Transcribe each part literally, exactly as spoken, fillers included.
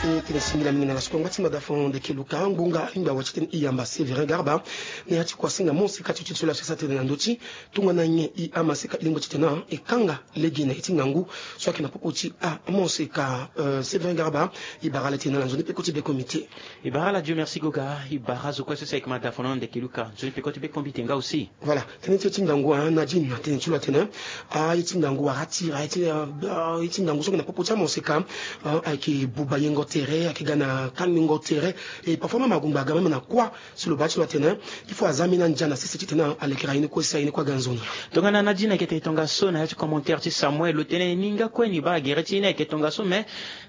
Tene singila mingi na la sukua ngba ti mada fon ndeke luka ngbonga ingba wa titene i yamba Sévérin Garba. Na ya ti kua singa mo sika ti ti ti la sasa tene na ndö ti tongana nyen i amaseka i lingbi titene e kanga lege na ye ti ngangu so ayeke na popo ti a mo sika. Sévérin Garba, i bara ala tene na nzoni peko ti be comité. I bara ala Dieu merci goga, i bara zo kue so si ayeke mada fon na ndeke luka nzoni peko ti be comité nga aussi. Voilà. Tënë ti ye ti ngangu, ah, Nadine, tënë ti lo atene, ah, ye ti ngangu wara ti ra ye ti, ah, ah, ye ti ngangu so ayeke na popo ti amoseka, ah, ayeke buba yengo tere, ayeke ga na kangbingo tere. Et parfois même agungba aga même na kuâ. Si lo baa ti lo atene il faut aza ambeni andia na sese titene alekera ye ni kue si aye ni kue aga nzoni. Tongana Nadine ayeke tene tongaso na ya ti commentaire ti Samuel, lo tene ni nga kue ni baa gere ti ye ni ayeke tongaso, mais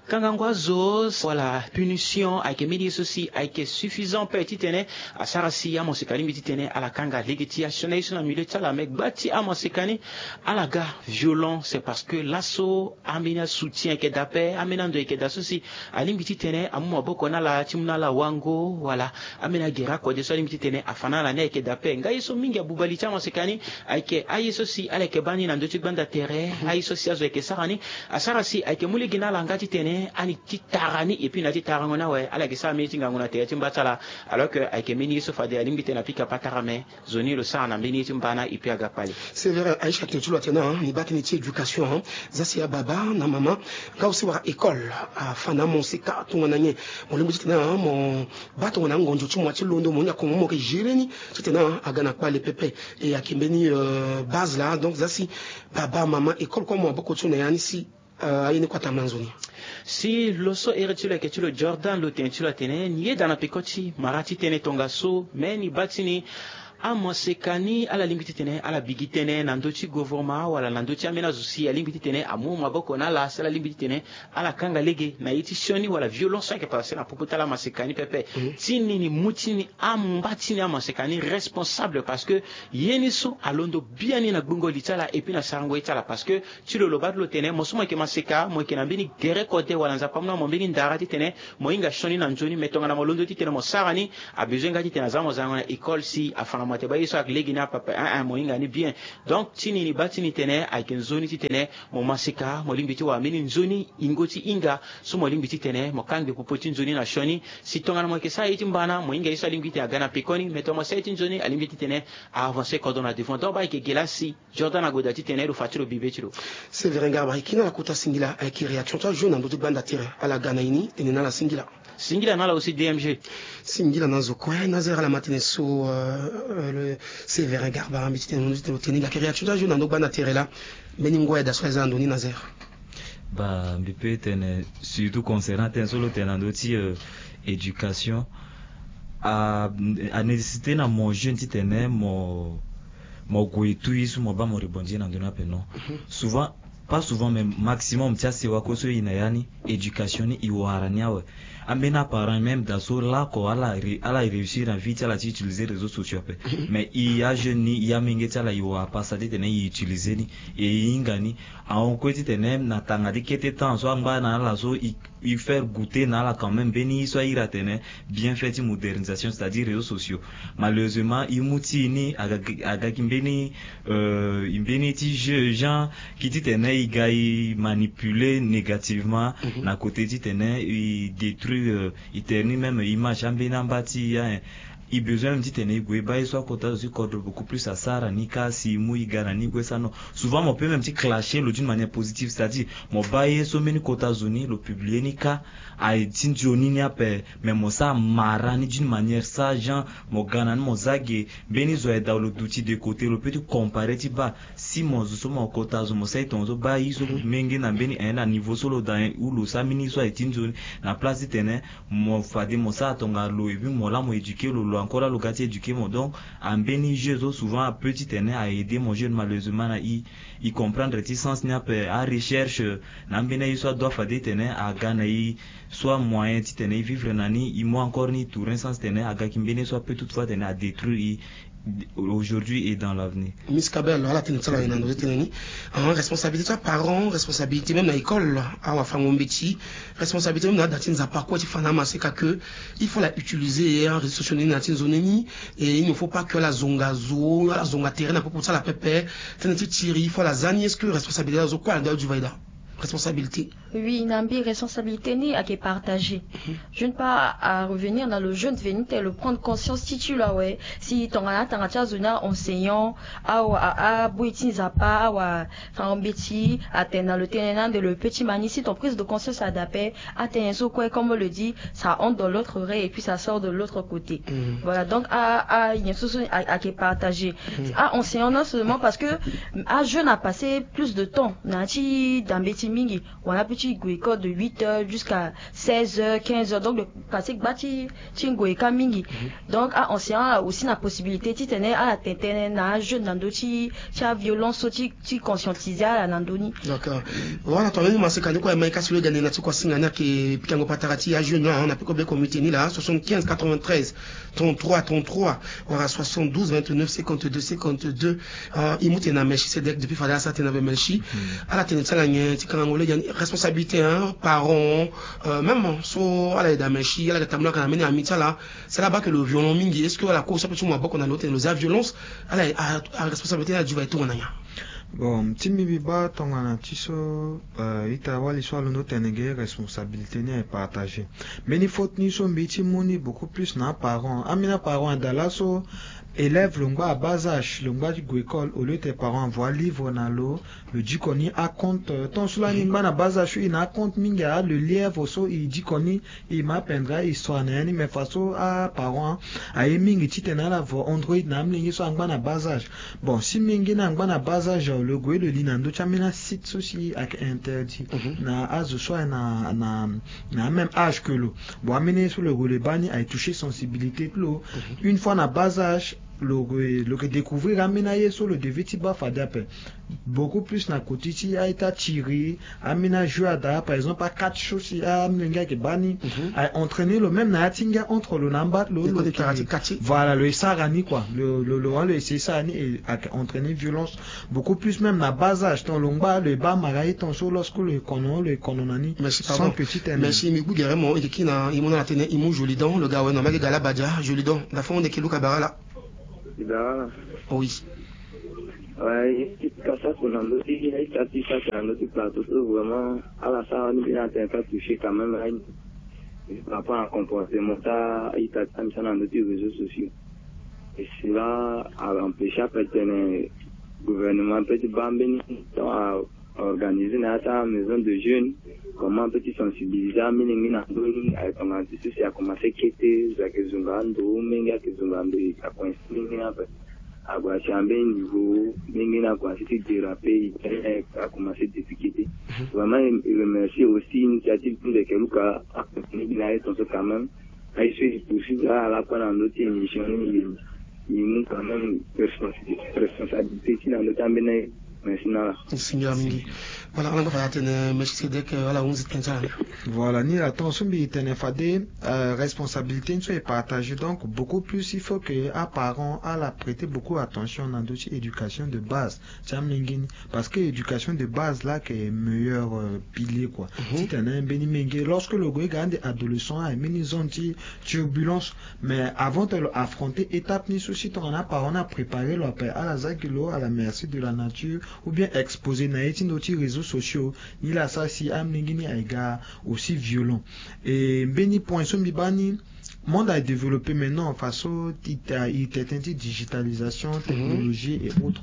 kangango azo wala punition ayeke mbeni ye so si ayeke suffisant ape titene asara si amoseka alingbi titene ala kanga lege ti asioni aye so na milieu ti ala. Mais gba ti amoseka ni ala ga violent, c'est parce que laso ambeni asoutien ayeke daa ape, ambeni ando ayeke daa so si alingbi titene amu maboko na ala ti mu na ala wango wala ambeni agere akode so alingbi titene afa na ala ni ayeke daa ape. Nga ye so mingi abuba li ti amoseka ni ayeke aye so si ala yeke baa ni na ndö ti gbanda tere, aye so si azo ayeke sara ni asara si ayeke mu lege na ala nga titene ani ti tara ni, et puis na ya ti tarango ni awe ala yeke sara mbeni ye ti ngangu na tere ti mba ti ala. Alors que ayeke mbeni ye so fade alingbi titene apika patara, mais zo ni lo sara na mbeni ye ti mba na, et puis aga kpale. C'est vrai, Aïcha, tene ti lo atene, hein, ni baa tënë ti éducation, hein. Za si ababa na mama nga aussi wara école afa na amoseka tongana nyen? Mo lingbi titene, hein, mo baa tongana angonzo ti mo ya ti londo mo hinga kongo mo yeke gérer ni titene, hein, aga na kpale pepe. Et ayeke mbeni, euh, base laa. Donc za si baba mama école kue amu maboko ti lo na ya ni si, euh, aye ni kue atambula nzoni. Si lo so here ti lo ayeke ti lo Jordan, lo tene ti lo atene ni yeda na peko ti mara ti tënë tongaso, me ni baa ti ni amaseka ni ala lingbi titene ala bigi tënë na ndö ti gouvernement wala na ndö ti ambeni azo si alingbi titene amu maboko na ala si ala lingbi titene ala kanga lege na ye ti sioni wala violence so ayeke passe na popo ti ala amaseka ni pepe. Mhm. Ti ni ni mu ti ni amba ti ni amaseka ni responsable, parce que ye ni so alondo biani na gbungo li ti ala et puis na sarango ye ti ala, parce que ti lo lo baa ti lo tene mo so mo yeke maseka mo yeke na mbeni gere kode wala Nzapa amu na mo mbeni ndara titene mo hinga sioni na nzoni, me tongana mo londo titene mo sara ni, abezoin nga titene aza mo zango na école si afa na mo ate baa ye so ayeke lege ni apepe, hein, hein, mo hinga ni bien. Donc ti ni ni baa ti ni tene ayeke nzoni titene mo maseka mo lingbi ti wara mbeni nzoni yingo ti hinga so mo lingbi titene mo kangbi popo ti nzoni na sioni. Si tongana mo yeke sara ye ti mba na mo hinga ye so alingbi titene aga na pekoni, me tongana mo sara ye ti nzoni alingbi titene a avancer kodro na devant. Donc baa ayeke ge laa si Jordan ague daa titene lo fa ti lo bibe ti lo. Sévérin Garba, e kiri na ala kota singila, e, ayeke réaction ti ajeune na ndö ti gbanda tere, ala ga na e ni, tene na ala singila. Singila na ala aussi D M G. Singila na zo kue, na zere ala ma tene so, euh, euh, le Sévérin Garba, mbi ti tene, mbi ti tene, lo tene ni, ayeke réaction ti ajeune na ndö gbanda tere laa, mbeni ngoi daa so aza na ndo ni na zere. Bah, mbi peut tene surtout concernant tënë so lo tene na ndö ti, euh, éducation, a, a nécessité na mo jeune titene mo, mo gue tu ye so mo baa mo rebondir na ndö ni ape, non. Mhm. Souvent, pas souvent, mais maximum ti asewa kue so e na ya ni, éducation ni e wara ni awe. Ambeni aparent même daa so lako ala re-, ala réussir na vie ti ala ti utiliser réseaux sociaux ape. Mhm. Mais e ajeune ni, e amenge ti ala e wara pasa titene e utiliser ni, e hinga ni. Ahon kue titene na tanga ti kete temps so angba na ala so e, e faire goûter na ala quand même mbeni ye so a iri atene bienfait ti modernisation, c'est-à-dire réseaux sociaux. Malheureusement e mu ti e ni aga, aga gi mbeni, euh, mbeni ti jeu genre ki titene e ga e manipuler négativement. Mhm. Na côté titene e détruire, euh, e tere ni même image ambeni amba ti e, hein. E besoin même titene e gue baa ye so akota zo ti kodro beaucoup plus asara ni kâ si e mu e ga na ni e gue sara, non. Souvent mo peut même ti clasher lo d'une manière positive, c'est-à-dire mo baa ye so mbeni kota zo ni lo publier ni kâ aye ti nzoni ni ape, mais mo sara mara ni d'une manière sage, genre mo ga na ni mo za ge, mbeni zo aye daa lo duti de côté, lo peut ti comparer ti baa si mo zo so mo kota zo mo sara e tongaso baa ye so menge na mbeni, eh, na niveau so lo daa, eh, ou lo sara mbeni ye so aye ti nzoni, na place titene mo fade mo sara tonga lo et puis mo laa mo éduquer lo, lo encore laa lo ga ti éduquer mo. Donc ambeni jeu so souvent apeut titene a aider mo jeune, malheureusement na e, e comprendre ti sens ni ape, arecherche na ambeni aye so adoit fade titene aga na e, soit moyen titene e vivre na ni, e mu encore ni e tourner sens titene aga gi mbeni ye so apeut toutefois titene a détruire e aujourd'hui et dans l'avenir. Miss Kabel, ala tene ti ala aye na ndo ti tene ni. Ah, responsabilité ti aparent, responsabilité même na école, awafango-mbeti, responsabilité même na ada ti Nzapa kue ti fa na amaseka que il faut la utiliser, hein, réseaux sociaux ni na ya ti nzoni ni, et il ne faut pas que ala zonga zo, ala zonga tere na popo ti ala pepe. Tënë ti tiri il faut ala za ni, est-ce que responsabilité azo kue ala doit duvaida? Responsabilité. Oui, na mbi responsabilité ni ayeke partagé. Je ne pas à revenir dans le jeune venu te le prendre conscience ti ti lo awe. Si tongana atanga ti azo ni aenseignant, awa aboyi ti nzapa, awa fango mbeti atene na lo tënë ni ande lo petit mani, si ton prise de conscience adape, atene so kue comme on le dit, ça entre dans l'autre oreille et puis ça sort de l'autre côté. Voilà, donc a a nyen so so ayeke partagé. A enseignant non seulement parce que a jeune a passé plus de temps na ya ti da mbeti mingi, wala peut ti gue école de huit heures jusqu'à seize heures, quinze heures, donc le passé gba ti ti ngue ka mingi. Donc a enseignant aussi na possibilité titene ala tene tënë na ajeune na ndö ti ti aviolence so ti ti conscientiser ala na ndö ni. D'accord. Voilà, to ameni maseka ni kue, aye mai kasi lo gande na ti kuasinga ni ayeke pikango patara ti ajeune na na peko be comité ni laa, soixante-quinze quatre-vingt-treize trente-trois trente-trois wala soixante-douze vingt-neuf cinquante-deux cinquante-deux. E mu tene na Melchisedek depuis fade asara tene na be Melchi. Ala tene ti ala nyen ti kangango lege ni, responsabilité, hein, parent, euh, même so ala yeda Melchi, ala yeda tambula ka na mbeni ami ti ala, si ala baa ke lo violent mingi, est-ce que ala kue aussi ape ti mu maboko na lo tene lo zia violence? Ala a responsabilité ni ajuva e tongana nyen? Bon, ti mbi mbi baa tongana ti so, euh, ita wali so alondo tene ge, responsabilité ni aye partagé. Mbeni faute ni so mbi ti mu ni beaucoup plus na aparent. Ambeni aparent ada laso, élève lo ngba à bas âge, lo ngba ti gue école, au lieu te parent avoa livre na lo, lo diko ni acompte, euh, tant so lani ngba na bas âge so e na acompte mingi, a le lièvre so e diko ni, e ma apendre ahistoire na ya ni, mais façon aparent aye mingi titene ala vo Android na amolenge so angba na bas âge. Bon, si molenge ni angba na bas âge, lo gue lo li na ndö ti ambeni asite so si ayeke interdit na azo so aye na na na même âge que lo. Bon, ambeni ye so lo gue lo baa ni aye toucher sensibilité ti lo. Une fois na bas âge, lo gue lo yeke découvrir ambeni aye so lo devait ti baa fade ape. Beaucoup plus na côté ti a-ita tiri, ambeni ajeu ada, par exemple acatch so si amolenge ayeke baa ni, aye entraîner lo même na ya ti ngia entre lo na amba ti lo, lo yeke, voilà, lo ye sara ni quoi, lo lo lo essayer sara ni, e ayeke entraîner violence. Beaucoup plus même na bas âge, tant lo ngba lo ye baa mara ye tant so lorsque lo ye kono lo ye kono na ni. Merci, pardon. Sans que ti tene. Merci, mbi gbu gere mo, e yeke kiri na e mu na ala tënë, e mu Jolidon, lo ga awe na mbi ayeke ga labadia. Jolidon, da fo ni yeke luka bara ala. Ida. Oui. Ouais, ti kasa ko na ndö ti aita ti kasa na ndö ti plateau so vraiment ala sara ni bien atene ka toucher quand même aye. Par rapport na comportement ti aita ti amisa na ndö ti réseaux sociaux. Et cela a empêcher ape tene gouvernement ape ti baa mbeni temps a organiser na ya ti amaison de jeune, comment ape ti sensibiliser amolenge na ndö ni, aye tongana ti so si a commencer kete, zo ayeke zonga ando, molenge ayeke zonga ando, e ka coincer molenge ni ape. Ague asi na mbeni niveau, molenge ni ague asi ti déraper, e tene a commencer difficulté. Vraiment e remercier aussi initiative ti Ndeke Luka, akontinue gi na aye tongaso quand même. Aye so e poursuivre ala kue na ndö ti émission ni, e mu quand même responsabilité ti na ndö ti ambeni aye. Merci na ala. Singa mingi. Voilà, ala ngba fade atene Melchisedek, euh, ala hunzi tënë ti ala. Voilà, ni la temps so mbi tene fade, euh, responsabilité ni so e partager, donc beaucoup plus il faut que aparent ala prêter beaucoup attention na ndö ti éducation de base ti amolenge ni. Parce que éducation de base la ayeke meilleur, euh, pilier quoi. Titene mbeni menge lorsque lo gue ga ande adolescent aye mbeni zone ti turbulence. Mais avant te lo affronter étape ni so si tongana aparent ni apréparer lo ape, ala za gi lo à la merci de la nature, ou bien exposer na ye ti ndö ti réseaux sociaux, ni la sara si amolenge ni aye ga aussi violent. Et mbeni point so mbi baa ni, monde aye développer maintenant façon ti ta e tene ti digitalisation, technologie et autres.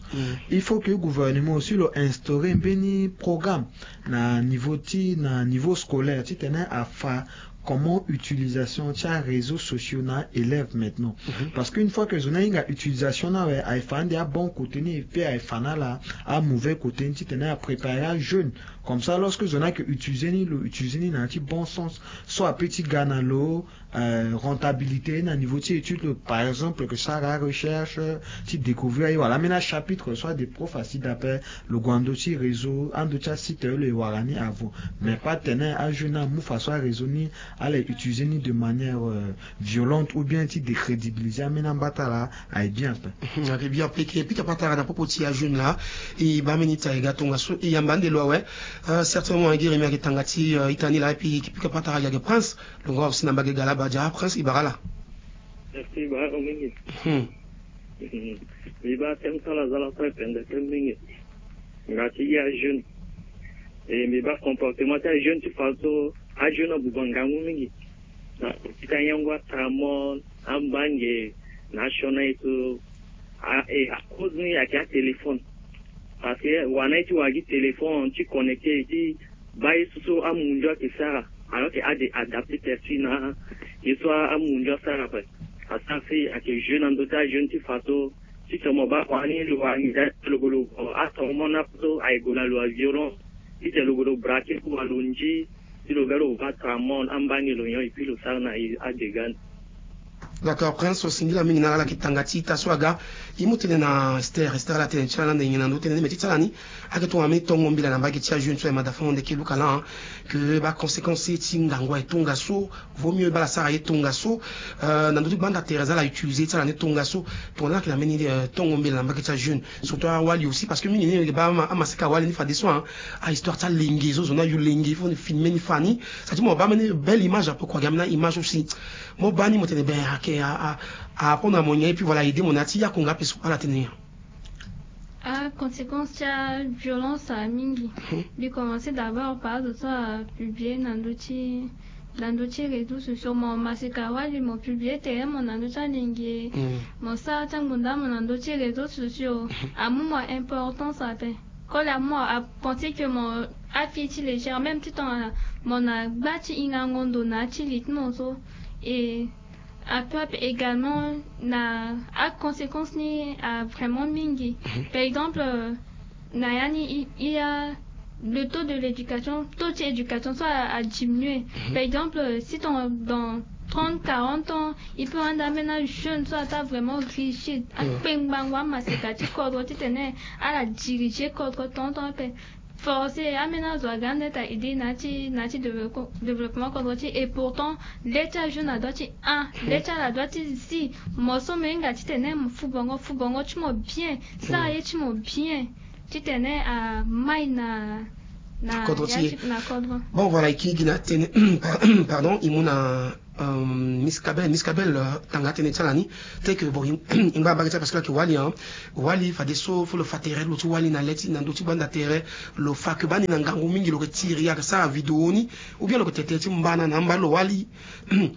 Il faut que gouvernement aussi lo instaurer mbeni programme na niveau ti na niveau scolaire titene afa comment utilisation ti aréseaux sociaux na élève maintenant. Parce que une fois que zo ni ahinga utilisation ni awe, aye fa ande abon côté ni, et puis aye fa na ala amauvais côté ni titene apréparer ajeune. Comme ça lorsque zo ni ayeke utiliser ni, lo utiliser ni na ya ti bon sens, so ape ti ga na lo, euh, rentabilité na niveau ti étude, par exemple, que sara recherche, ti découvrir aye wala ambeni achapitre, soit des profs asi d'appel, lo gue na ndö ti réseau, ando ti asite lo ye wara ni avant. Mais pas tene ajeune amu façon aréseau ni, ala ye utiliser ni de manière, euh, violente ou bien ti décrédibiliser ambeni amba ti ala, aye bien ape. Aye bien ape. Eke pika patara na popo ti ajeune la, e baa mbeni ita e ga tongaso, e yamba ande lo awe. Euh, certainement aye gi Rémi ayeke tanga ti, euh, ita ni la, et puis eke pika patara gi ayeke Prince. Lo ngba aussi na mbage ga labadia. Prince, e bara ala. Merci, e bara ala mingi. Hmm. Mbi baa tënë ti ala aza lakue pendeke mingi. Nga ti ya jeune. E mbi baa comportement ti ajeune ti fa so ajeune abuba ngangu mingi na ti ayangu atramon, ambange, na asiona ye so. A e acause ni ayeke atéléphone. Parce que wara na ye ti wara gi téléphone ti connecter ti baa ye so so amundu ayeke sara. Alors que ade adapter terre ti na ye so amundu asara ape. Asara si ayeke jeune na ndö ti ajeune ti fa so ti tongana mo baa kua ni lo wara nginza ti lo golo atormon na ape so aye gue na lo aviolence. Ti tene lo golo braquer kua lo ndi ti lo ga lo baa tramon ambange lo nyon et puis lo sara na ye adégât ni. D'accord, Prince, singila mingi na ala yeke tanga ti ita so aga. E mu tene na Esther, Esther ala tene ti ala na ande nyen na ndö ti tene ni, mais ti ti ala ni ayeke tongana mbeni tongo mbela na mbage ti ajeune so aye mada fo na ndeke luka laa, hein, que baconséquence ti ngangu aye tongaso. Vaut mieux baa ala sara ye tongaso, euh, na ndö ti banda tere so ala utiliser ti ala ni tongaso. Tongana ala yeke na mbeni, euh, tongo mbela na mbage ti ajeune, surtout awali aussi, parce que mingi ni e baa ama, amaseka awali ni fadeso, hein, ahistoire ti alenge so zo ni ayu lenge, il faut ni filmer ni fa ni. Ça dit mo baa mbeni belle image ape kua, gi ambeni aimage aussi. Mo baa ni mo tene ben ayeke a, a, a apprendre na mo nyen, et puis voilà, aider mo na ya ti yaku nga ape so ala tene nyen? Ah, conséquence ti aviolence amingi. Mhm. Mbi commencer d'abord par azo so apublier na ndö ti, na ndö ti réseaux sociaux. Mo maseka wali, mo publier tere mo na ndö ti alenge. Mm. Mo sara ti angbonda mo na ndö ti réseaux sociaux. Mhm. Amu mo importance ape. Koli amu mo apenser que mo afii ti légère, même ti tongana mo na gba ti hingango ndo na ya ti li ti mo so. Et ape ape également na aconséquence ni avrément mingi. Mhm. Par exemple, euh, na ya ni i, i a le taux de l'éducation, taux ti éducation so a, adiminuer. Mhm. Par exemple, euh, si ton, dans trente, quarante ans, il peut rendre ambeni ajeune so ata vraiment rigide. Mhm. Akpengbango amaseka ti kodro titene ala diriger kodro tongatonga ape. Forcé ambeni azo aga ande ta aidé na ya ti, na ya ti développe-, développement kodro ti e. Et pourtant le ti ajeune adoit ti, ah, le ti ala adoit ti zi. Mo so mo hinga titene mo fu bongo, fu bongo ti mo bien, sara ye ti mo bien, titene amai na, na kodro ti e. Bon, voilà, e kiri gi na tënë, pardon, e mu na Euh, Miss Kabel, Miss Kabel, euh, tanga tënë ti ala ni. Te ke bon, i, i ngba mbage ti ala parce que lo yeke wali, hein. Wali fadeso fo lo fa tere lo ti wali na le ti, na ndö ti banda tere. Lo fa ke baa ni na ngangu mingi, lo yeke tiri, ayeke sara vidéo ni, ou bien lo yeke tene tere ti mbana na amba lo wali.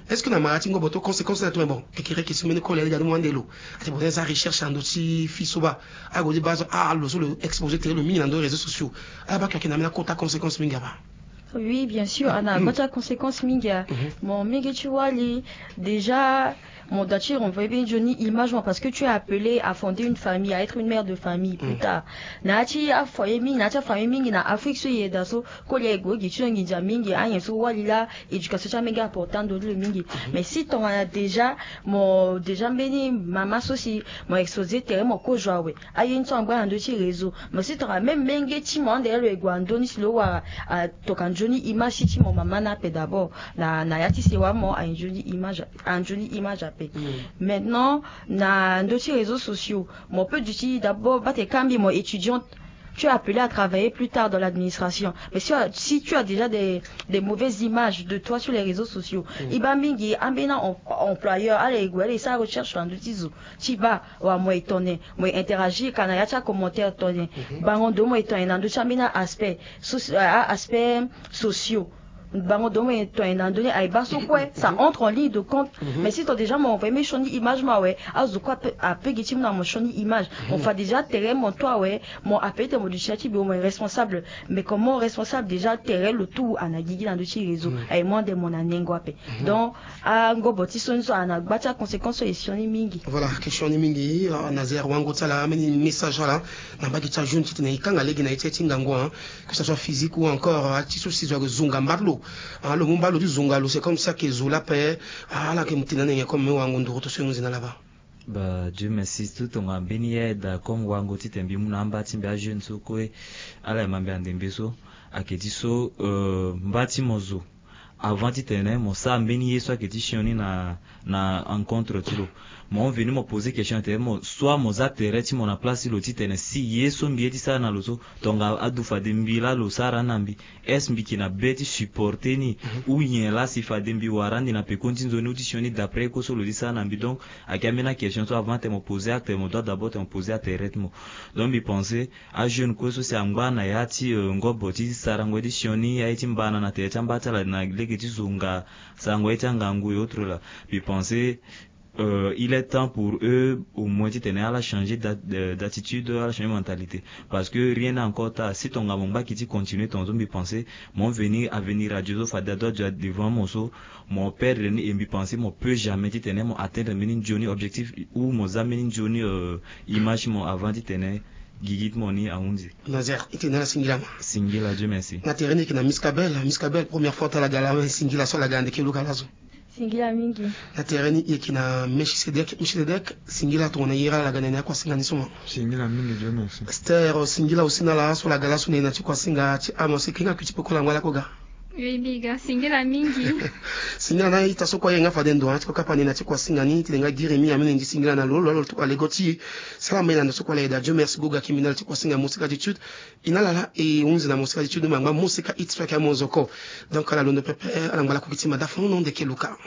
Est-ce que na mara ti ngobo to conséquence na tongana bon, e kiri question mbeni koli ali ga ni mo ande lo. Ate bon, za recherche na ndö ti fille so baa, ague ti baa so, ah, lo so lo exposer tere lo mingi na ndö réseaux sociaux. Ah, baa ke ayeke na mbeni akota conséquence mingi abaa. Oui, bien sûr, a na akota conséquence mingi a. Mhm. Mo mingi ti wali, déjà, mo doit ti renvoyer mbeni nzoni image mo, parce que tu es appelé à fonder une famille, à être une mère de famille plus tard. Na ya ti afoyer mingi, na ya ti afamille mingi na Afrique so e yeda so, koli aye gue gi ti lo nginza mingi, anyen so wali laa, éducation ti amenge important ndo ti lo mingi. Mhm. Mais si tongana déjà, mo déjà mbeni mama so si mo exposer tere mo kozo awe. Aye ni so angba na ndö ti réseau. Mo si tongana même menge ti mo ande lo e gue na ndö ni si lo wara, ah, tongana nzoni image ti, ti mo mama ni ape d'abord. Na, na ya ti sewa mo aye nzoni image, aye nzoni image ape. Mm. Maintenant, na ndö ti réseaux sociaux, mo peut duti d'abord baa tene ka mbi mo étudiante, tu es appelé à travailler plus tard dans l'administration. Mais si, si tu as déjà des, des mauvaises images de toi sur les réseaux sociaux, mm, e baa mingi ambeni em-, employeur ala e gue ala e sara recherche na ndö ti zo. Ti baa, wa mo e tongana, mo e interagir ka na ya ti acommentaire tongana. Mhm. Bango ndo mo e tongana na ndö ti ambeni a-aspect soci-, a-, a-aspect sociaux. Bango ndo mo e tongana na ndö ni aye baa so kue, ça entre en ligne de compte. Mhm. Mais si tongana déjà mo envoyer mbeni sioni image mo awe, azo kue ape, ape gi ti mu na mo sioni image. Mhm. Mo fa déjà tere mo to awe, mo appelé tene mo duti na ya ti bureau, mo e responsable. Mais comment responsable déjà tere lo tout a na gigi na ndö ti réseau. Mm. Aye mo ande mo na nengo ape. Mhm. Donc, angobo ti sioni so a na gba ti aconséquence so e sioni mingi. Voilà, question ni mingi, ah, Nazaire wango ti ala, ambeni message ala na mbage ti ajeune titene e kanga lege na ye ti, ti ngangu, hein, que ça soit physique ou encore, ah, ti so si zo ayeke zonga mbali lo, ah, lo mu mbali lo ti zonga lo, c'est comme si ayeke zo laa ape, ah, ala yeke mu tene na nyen comme me wango nduru to so e mu nzena laba. Bah, Dieu merci, tout tongana mbeni aide comme wango titene mbi mu na amba ti mbi ajeune so kue, ala yeke ma mbi andembe so, ayeke ti so, euh, mba ti mo zo Avant titene mo sara mbeni ye so ayeke ti sioni na na encontre ti lo. Mo veni mo poser question tene mo soit mo za tere ti mo na place ti lo titene si ye so mbi ye ti sara na lo so, tonga adu fade mbi laa lo sara na mbi, est-ce mbi yeke na be ti supporter ni? Ou nyen laa si fade mbi wara andi na pekoni ti nzoni ou ti sioni d'après ye kue so lo ti sara na mbi? Donc ayeke ambeni a question so avant tene mo poser atene mo doit d'abord tene mo poser atere ti mo. Donc mbi pense ajeune kue so si angba na ya ti ngobo ti sarango ye ti sioni aye ti mbana na tere ti amba ti ala na lege ti zo nga sarango ye ti angangu et autres là. Mbi pense il est temps pour eux au moins titene ala changer d'attitude, ala changer mentalité. Parce que rien n'est encore tard. Si tonga mo ngba ki ti continuer tonga so mbi pense mo venir avenir radio so fade adoit dua devant mo so, mo perdre ni et mbi pense mo peut jamais titene mo atteindre mbeni nzoni objectif ou mo za mbeni nzoni image ti mo avant titene gigi ti mo ni ahunzi. Nazaire, e tene na ala singila ma. Singila, Dieu merci. Na tere ni e yeke na Miss Kabel. Miss Kabel, première fois ti ala ga laa, singila so ala ga na ndeke luka laso. Singila mingi. Na tere ni e yeke na Melchisedec. Melchisedec, singila tongana iri ala ga na ni akuasinga ni so ma. Singila mingi, Dieu merci. Esther, singila aussi na ala so ala ga laso na e na ti kuasinga ti amo si e kenga kui ti peko ala ngba lako ga. Singila mingi. Singila na ita so kue aye nga fade ndo na ti kokapa ni na ti kuasinga ni ti le nga giri mingi ameni ndi singila na lo lo alo tokua lego ti e. Sala ma e na ndo so kue ala yeda. Dieu merci goga kimbi na ala ti kuasinga mosika attitude. E na ala laa e hunzi na mosika attitude ma ngba mosika hit so ayeke amonzoko. Donc ala londo pepe ala ngba lako gi ti ma dafa nono ndeke luka.